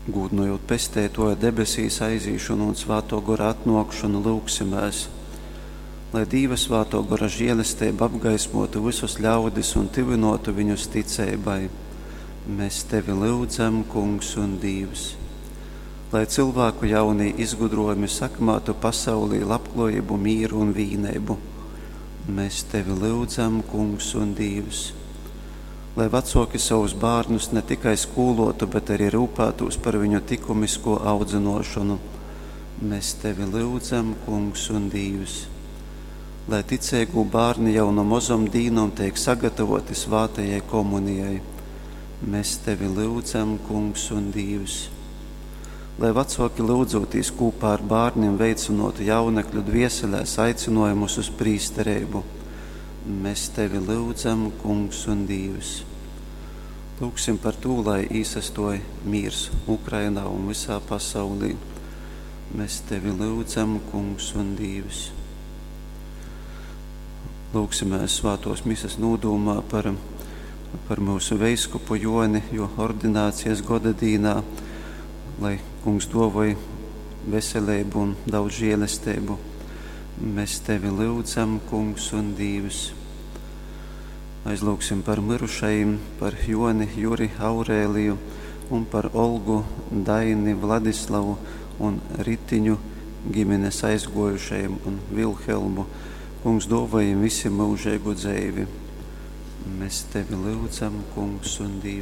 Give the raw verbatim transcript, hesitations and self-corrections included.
Gūdnojot Pesteitōja debesīs aizīšonu un Svātō Gora atnōkšonu, lyugsimēs, lai Dīva Svātō Gora žēlesteiba apgaismōtu vysus ļaudis un tyvynōtu viņus ticeibai. Mēs tevi lyudzam, Kungs un Dīvs. Lai cilvēku jaunī izgudrojumi sakmātu pasaulī labklājību, mīru un vīneibu. Mēs tevi lyudzam, Kungs un Dīvs. Lai vecōki savus bērnus ne tikai skolotu, bet arī rūpētos par viņu likumisko audzināšanu. Mēs tevi lyudzam, Kungs un Dīvs. Lai ticīgu bērni jau no mozom dīnom tiek sagatavoti svātajai komunijai. Mēs tevi lyudzam, Kungs un Dīvs. Lai vecāki lūdzoties kopā ar bērniem veicinātu jaunekļu dvieselēs aicinājumus uz prīsterību. Mēs tevi lyudzam, Kungs un Dīvs. Lūksim par to, lai īsastoja mīrs Ukrainā un visā pasaulī. Mēs tevi lyudzam, Kungs un Dīvs. Lūksimēs svātos misas nūdūmā par, par mūsu veiskupu Joni, jo ordinācijas goda dīnā, lai Kungs dovoj veselību un daudz žēlestību. Mēs tevi lyudzam, Kungs un Dīvs. Aizlūgsim par mirušajiem, par Joni, Juri, Aurēliju un par Olgu, Daini, Vladislavu un Ritiņu ģimenes aizgojušajiem un Vilhelmu. Kungs dāvā viņiem visiem mūžīgu dzīvi. Mēs tevi lūdzam, Kungs un Dievs.